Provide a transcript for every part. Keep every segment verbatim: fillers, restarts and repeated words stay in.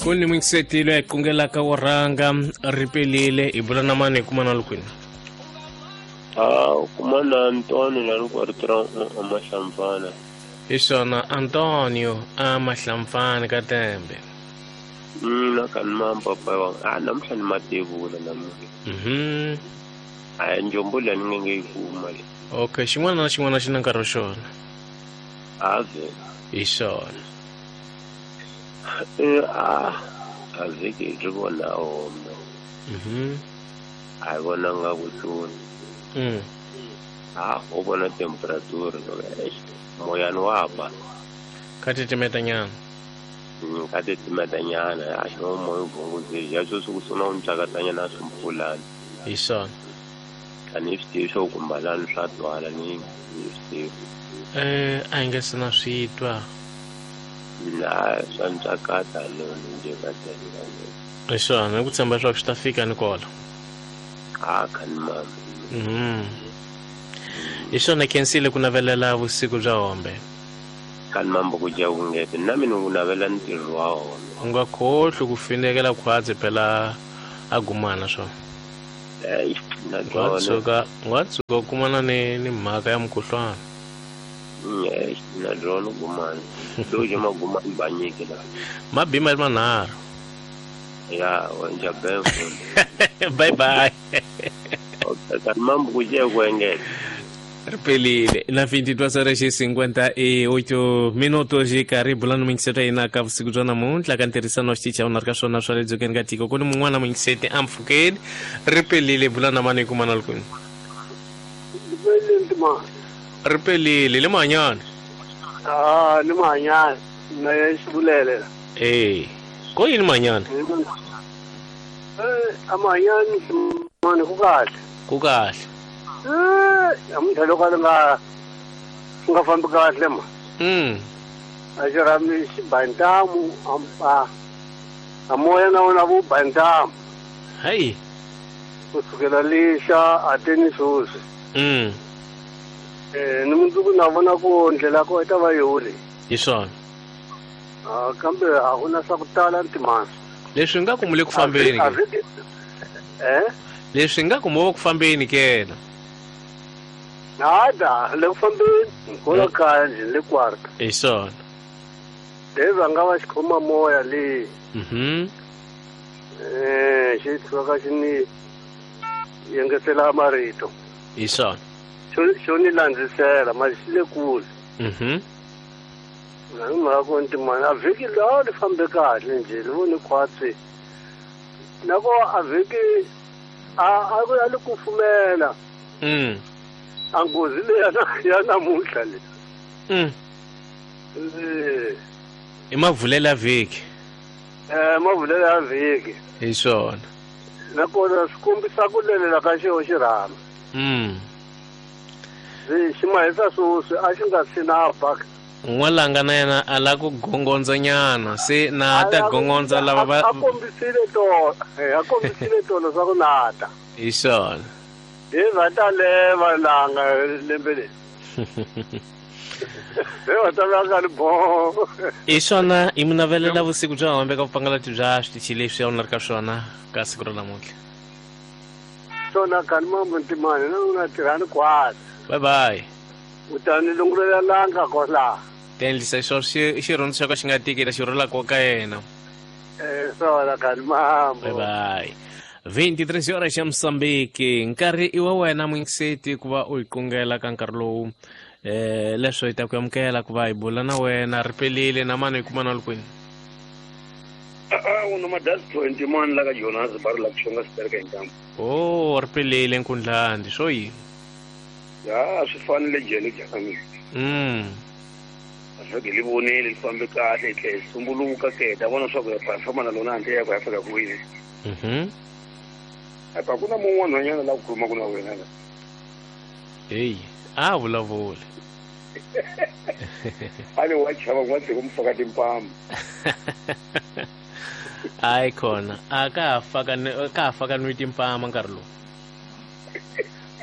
Kuni mwingisetile hi kungelaka wo rhanga ri pelile hi bula na mani hi kuma na lukwini. Ah, kuma na Antonio la loko ri tirha Mahlamfana. Hi swona Antonio a Mahlamfana ka Tembe. Mina ka ni papa wa a namuntlha ni matevula namuntlha. Mhm. A njombo leyi ni nge yi kuma le. Okay, xin'wana na xin'wana xi na nkarhi wa xona. A vhela. Hi swona. Eh a a vhiki ri vona home. Mhm. A hi vonanga ku tlula. Mm. A ho vona temperature moyani wa ba. Ka titimeta nyana. Mm, ka titimeta nyana a xi moya wu bunguzile ya sweswi ku sungula ku ntsakatanyana swimpfulani. Hi swona. A ni swi tivi swo kumbalani swa twala ni ni swi tivi. Eh a hi nge se na swi twa. Na swa ntsakata no nje ka tele. Hi swona hi ku tshemba leswaku swi ta fika ni kola. A kha ni mama. Mhm. Hi swona khensile ku navelela vusiku bya hombe. Kani mambo ku dya vungete na mina ku navela ntirho wa wona. U nga khohlwi ku finekela khwatsi phela a gumana swona. Eh, na Nga byona. tshuka nga tshuka u kumana ni ni mhaka ya mukhuhlwana. Eh, na byona gumana. Doje magumana ba nyike la. Mabi ma manharhu. Ya, wa nja bembo. Bye bye. Okay, kani mambo ku dya ku engeta. Ri pelile na vinte e duas horas e cinquenta e oito minutos hi karhi hi bula ni muyingiseri wa hina ka vusiku bya namuntlha ka ntirhisano wa xitichi a wu na ri ka swona swa le dzongeni ka tiko ku ni mun'wana muyingiseti a mpfhukeni ri pelile hi bula na mani hi kuma na lukwini. Pelile ntimani. Ri pelile le mahanyana. Ah, ni mahanyana na xivulele. E ko yini mahanyana? Eh, a mahanyana mani ku kahle. Ku kahle. Eh, namuntlha loko a li nga nga fambi kahle ma. Mm. A xi rhami xi ba ntamu a a moya na wona wu ba ntamu. Hayi. Ku sukela lixa a te ni sweswi. Mm. Eh, ni mundzuku na vona ku ndlela ko yi ta va yole. Hi swona. Ah, kambe a ku na swa ku tala ntimani. Leswi nga ku mu le ku fambeni ke. Eh? Leswi nga ku mo ku fambeni ke na. Nada, le ku fambeni kola kaya nje le kwarta. Hi swona. Leva nga va xikhoma moya le. Mhm. Eh, xi tshuka xi ni yengetela marito. Hi swona. Xo xo ni landzisela ma xi le kule. Mhm. Na hi mhaka ku ntimani a vhiki lawa li fambe kahle nje li voni khwatsi. Na ko a vhiki a a ku a li kufumela. Mm. A nghozi leyi ya ya namuntlha le. Mm. Eh. I mavulelo ya vhiki. Eh, mavulelo ya vhiki. Hi swona. Nakona swi kombisa ku lelela ka xo xirhami. Mm. Xi mahisa sweswi a xi nga si na ba. N'walanga na yena a la ku gongondza nyana se na ta gongondza lava va a kombisile tolo, a kombisile tolo swa ku nata. Hi swona. Hi va ta leva langa lembe leri. Hi va ta langa li bo. Hi swona hi mu navelela vusiku bya hombe ka vupangalati bya switichi leswi a wu na ri ka swona ka siku ra namuntlha. Swona kani mambo ntimani na u na tirhani khwatsi. Bye bye. U ta ni lungulela langa kola. Tendlisa xo xi xirhundzu xa ka xi nga tiki xi rhulaka ka yena. Eh, swona kani mambo. Bye bye. vinte e três horas ya Moçambique. Nkarhi i wa wena muyingiseti ku va u hi kungela ka nkarhi lowu eh leswo hi ta ku amukela ku va hi bula na wena ri pelile na mani hi kuma na lukwini. A u na madasi twenty mani la ka Jonas ba ri la ku xonga xitereka hi ntambu. Oh, ri pelile nkundlandi swo yini? Ya swi fanele jele jaka mina. Mm. A swi li vonile li fambe kahle hi tlhela hi sumbuluka ke ta vona swa ku ya famba na lona handle ya ku ya fika kwini. Mhm. Apa ku na mun'wana nhwanyana la ku khulumaka na wena la. Hey, a vulavula. A le wa chava n'wa tshika mu faka timpama. Hayi khona, a ka ha faka ka ha faka nwi timpama nkarhi lowu.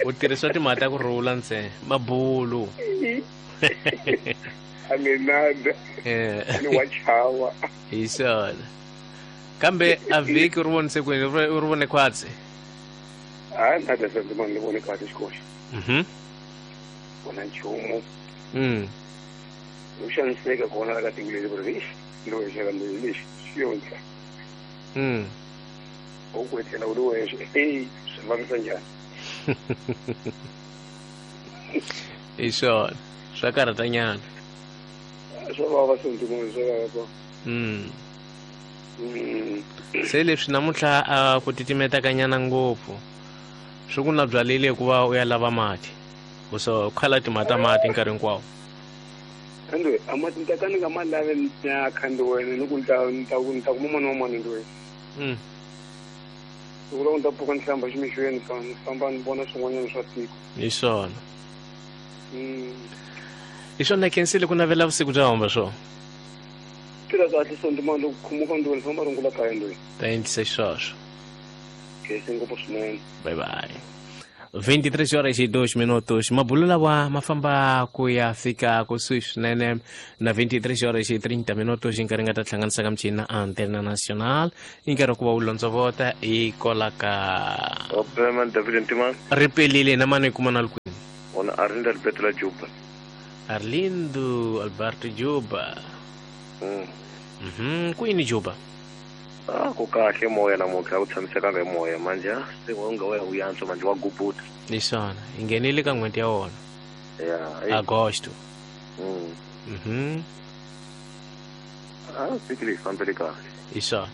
U tirhisa timhaka ta ku rhula ntsena, mabulu. A ni nada. Eh. Ni wa chava. Hi swona. Kambe a vhiki u ri vonise kwini? U ri vone khwatsi? Hayi nada Sentimani ni vone kahle xikoxi. Mhm. Vona nchumu. Mm. U xaniseka kona la ka tiko leri ku ri ixi ni wexe kambe lexi xi yo ndla. Mm. U ku etlela u ri wexe eyi swi vavisa njhani? Hi swona. Swa karhatanyana. Swa vava Sentimani swa vava. Mm. Mm. Se leswi namuntlha a ku titimetakanyana ngopfu swi ku na byalile hikuva u ya lava mati u so khala timhaka ta mati nkarhi hinkwawo. Ande a mati ni ta ka ni nga ma lavi ni ya kha ndi wena ni ku ni ta ni ta ku ni ta kuma mani wa mani ndi wena. Mm. Siku loko ni ta pfuka ni hlamba ximixweni ka ni famba ni vona swin'wanyana swa tiko. Hi swona. Mm. Hi swona khensile ku navela vusiku bya homba swona. Tirha kahle Sentimani loko khumuka ndi wena famba rungula kaya ndi wena. Ta endlisa xisweswo. Khense ngopfu swinene. Bye bye. vinte e três horas e dois minutos. Mabulo lawa ma famba ku ya fika kusuhi swinene na vinte e três horas e trinta minutos hi nkarhi nga ta hlanganisa ka michini Antena Nacional hi nkarhi ku va wu londzovota hi kola ka Opeman David Ntimani. Ri pelile na mani hi kuma na kwini? Ona Arlindo Alberto la Juba. Arlindo Alberto Juba. Mm. Mhm, kwini Juba? Ah, ku kahle moya namuntlha wu tshamisekanga hi moya manje se wa nga wa wu yantswa manje wa gubuta. Hi swona, hi nghenile ka n'hweti ya wona. Ya, Agosto. Mm. Mhm. Ah, vhiki leyi fambele kahle. Hi swona.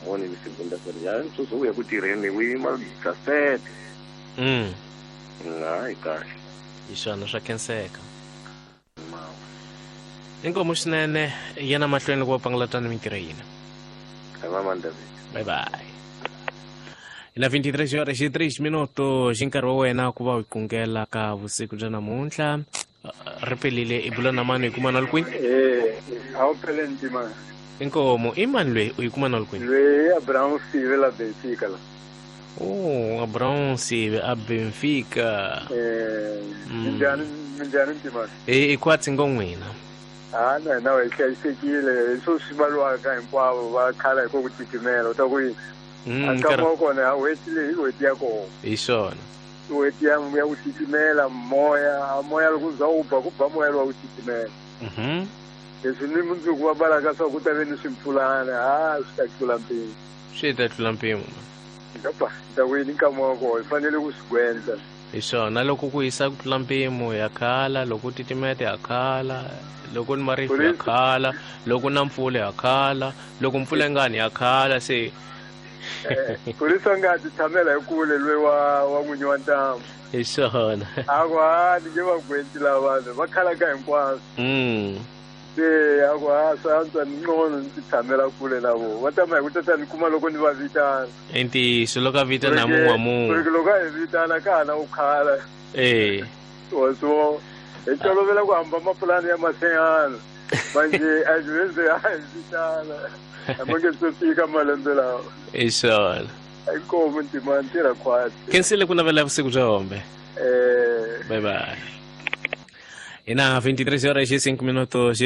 Moni ni segunda feira ya sweswi u ya ku tirheni wu yima dix-sept. Mm. Hayi kahle. Hi swona swa khenseka. Inkomu swinene yena mahlweni loko va pangalatana mintirho yina. Bye bye. Na vinte e três horas e três minutos hi nkarhi wa wena ku va u kungela ka vusiku bya namuntlha. Ri pelile i bula na mani hi kuma na kwini? Eh, a wu phele Ntimani. Inkomu i mani loyi u yi kuma na kwini? Loyi Abraham Sive la Benfica la. Oh, Abraham Sive a Benfica. Eh, minjhani minjhani Ntimani? Eh, i khwatsi ngo n'wina. Ah, na hina hi hlayisekile hi swo swi valiwaka hinkwavo va khala hi ko ku titimela u ta ku yini? A nkama wa kona a n'hweti leyi i n'hweti ya kona. Hi swona. I n'hweti ya ya ku titimela moya, a moya loko za wu ba ku ba moya lowa ku titimela. Mhm. Leswi ni mundzuku va balaka swa ku ta ve ni swimpfulana, ha swi ta tlula mpimo. Swi ta tlula mpimo. Ngapa, ta ku yini nkama wa kona hi fanele ku swi gwendla. Hi swona loko ku hisa ku tlula mpimo ya khala, loko titimeta ya khala, loko ni marifu ya khala, loko na mpfula ya khala, loko mpfula yi nga ni ya khala se. Phorisa nga ti tshamela hi kule loyi wa wa n'winyi wa ntambu. Hi swona. A ku ha ni nge va gwenti lava vanhu va khalaka hinkwaswo. Mm. Se a ku ha swa antswa ni ngcono ni ti tshamela kule na vona. Va tama hi ku tata ni kuma loko ni va vitana. I ntiyiso loko a vitana mun'we wa mun'we. Ku ri loko a hi vitana ka ha na ku khala. Eh. Wa swo hi tolovela ku hamba mapulani ya masehana. Manje a byi a hi vitana. A ma nge se fika malembe lawa. Hi swona. Inkomu Ntimani tirha khwatsi. Khensile ku navela vusiku bya hombe. Eh. Bye bye. Ina vinte e três horas e cinco minutos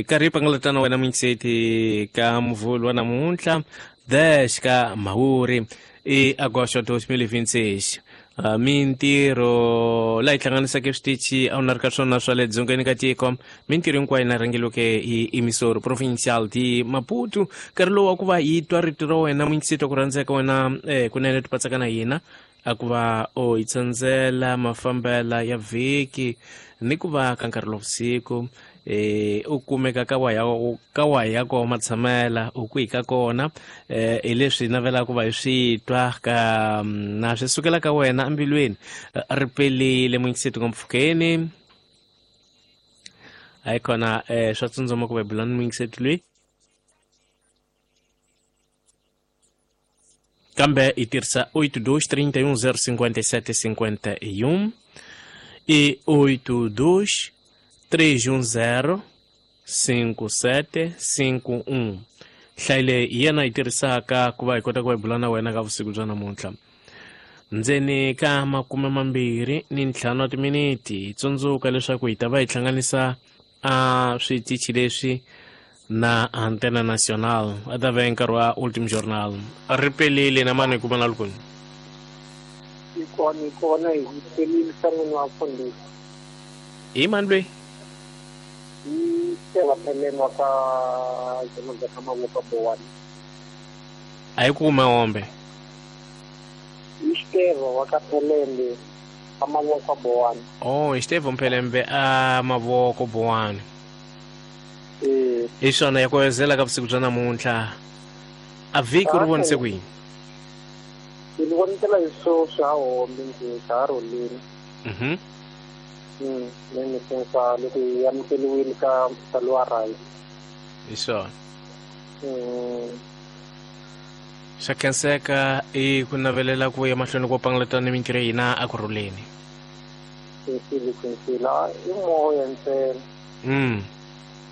karhi pangalatana wena mingiseti ka muvhulu wa namuntlha dez ka Mhawuri i agosto dois mil e vinte e seis. Uh, mintirho laha yi hlanganisaka switichi a wu na ri ka swona swa le dzongeni ka tiko mintirho hinkwayo na rhangeliweke hi emisoro provincial de Maputo. Nkarhi lowu wa ku va hi twa rito ra wena muyingiseti ku rhandzeka wena eh, kunene ti patsaka na hina a ku va o hi tsandzela mafambela ya vhiki ni ku va ka nkarhi lowa vusiku eh u kumeka ka wa ya ka wa ya ko matshamela u kwihi ka kona eh hi leswi navelaka ku va hi swi twa ka na swi sukela ka wena embilwini. Ri pelile muyingiseti ngompfhukeni hayi kona eh swa tsundzuma ku va bulani muyingiseti loyi kambe hi tirhisa oito dois trinta e um zero cinquenta e sete cinquenta e um e oito dois três um zero cinco sete cinco um. Nhlayo leyi hi yena yi tirhisaka ku va hi kota ku va hi bula na wena ka vusiku bya namuntlha. Ndzeni ka makume mambirhi ni ntlhanu wa timiniti hi tsundzuka leswaku hi ta va hi hlanganisa a switichi leswi na Antena Nacional a ta ve nkarhi wa Ultim Journal. Ri pelile na mani kuma na lukuni. Ikona ikona hi pelile san'wini wa mfundhisi. I mani loyi? I Xiteva Pheleni wa ka Jemodza ka Mavoko Bowani. A yi kume ombe. I Xiteva wa ka Phelembe ka Mavoko Bowani. Oh, Xiteva Mphelembe a Mavoko Bowani. Eh. Hi swona ya ku ka vusiku bya namuntlha. A vhiki ri vonise ku yini? Ni vonisela hi swo swa hombe ndzi ka roleni. Mhm. Mm, ni sensa loko yi amukeliwile ka mpfalo right. Hi swona. Mm. Xa khenseka i ku navelela ku ya mahlweni ko pangalatana mintirho ya hina a ku rhuleni. Khensile khensile i moya ntsena. Mm.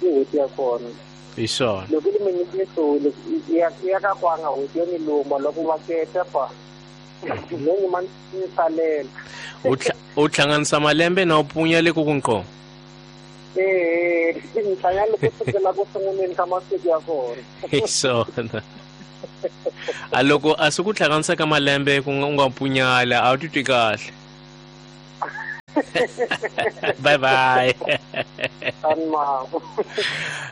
I n'hweti ya kona. Hi swona. Loko li minyikisile ya ya ka kwanga n'hweti yo ni luma loko va keta pa. Ni ma ni salela. U u hlanganisa malembe na u punya le ku ku nqo. Eh, ni hlangana ku sukela ku sunguleni ka masiku ya kona. Hi swona. A loko a swi ku hlanganisa ka malembe ku nga u nga punyala a wu titwi kahle. Bye bye.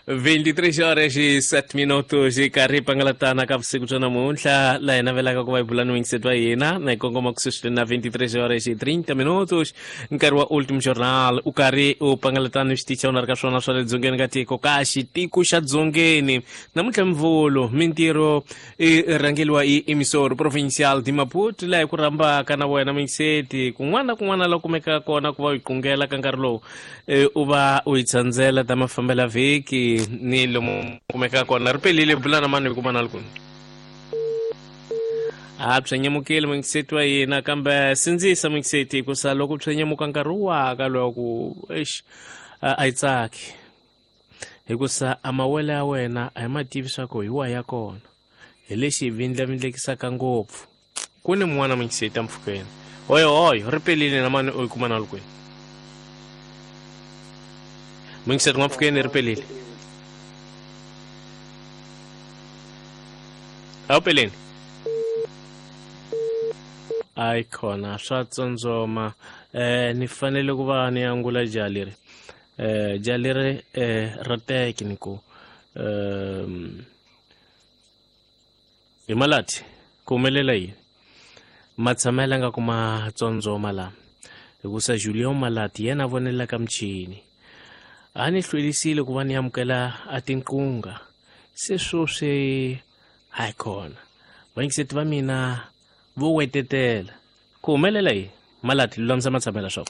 vinte e três horas e sete minutos e karhi pangalatana ka vusiku bya namuntlha laha hi navelaka ku va hi bula ni wingiseti wa hina na hi kongoma ku sweswi na vinte e três horas e trinta minutos nkarhi wa Ultim Journal u karhi u pangalatana ni xitichi xa wena ri ka swona swa le dzongeni ka tiko ka xitiko xa dzongeni namuntlha mvulu mintirho i rhangeliwa hi emissor provincial de Maputo laha hi ku rhambaka na wena mingiseti kun'wana na kun'wana la kumekaka kona ku va u yi qungela ka nkarhi lowu u va u yi tsandzela ta mafambela vhiki ni lomu kumekaka kona ri pelile bula na mani hi kuma na lukuni a byenyemukile mingiseti wa hina kambe sindzisa mingiseti hikusa loko byenyemuka nkarhi waka lowa ku exi a yi tsaki hikusa a mawele ya wena a hi ma tivi swa ku hi wa ya kona hi lexi hi vindlavindlekisaka ngopfu ku ni mun'wana mingiseti empfhukeni oyo oyo ri pelile na mani u yi kuma na lukweni mingiseti n'wampfhukeni ri pelile a wu peleni ayi khona swa tsondzoma eh ni fanele ku va ni angula jaha leri eh jaha leri eh ra teki ni ku um hi malati ku humelela yini matshamela nga ku ma tsondzoma lama hikusa Julian Malati yena a vonelaka michini a ni hlwelisile ku va ni amukela a tinqunga se sweswi hayi khona vayingiseti va mina vo wetetela ku humelela yini Malati lulamisa matshamela swa